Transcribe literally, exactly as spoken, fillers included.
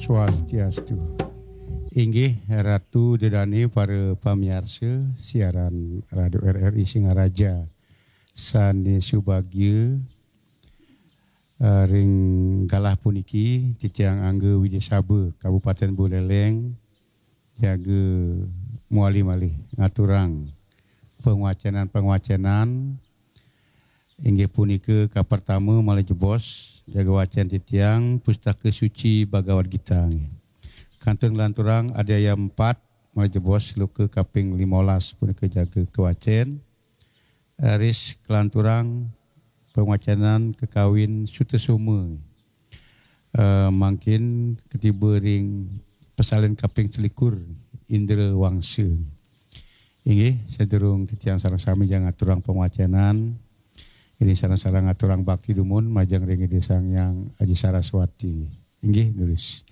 Swastiastu. Inggih Ratu Dedane, para pamiarsa siaran Radio R R I Singaraja sane subagya, eh, ring galah puniki titiang angga Widya Saba Kabupaten Buleleng jaga mawali malih ngaturang pangwacenan-pangwacenan. Inggih punika kapertama malih jebos jaga wacen titiang Pustaka Suci Bhagavad Gita. Kantun nglanturang adhyaya empat malih jebos sloka kaping limolas punika jaga kawacen. Raris kalanturang pangwacenan kakawin Sutasoma. Eh, mangkin katiba ring pasalin kaping selikur, Indra Wangsa. Inggih, sadurung titiang sareng sami jang ngaturang pangwacenan, ring sareng-sareng ngaturang bakti dumun majeng ring Ida Sang Hyang Aji Saraswati. Inggih, durus.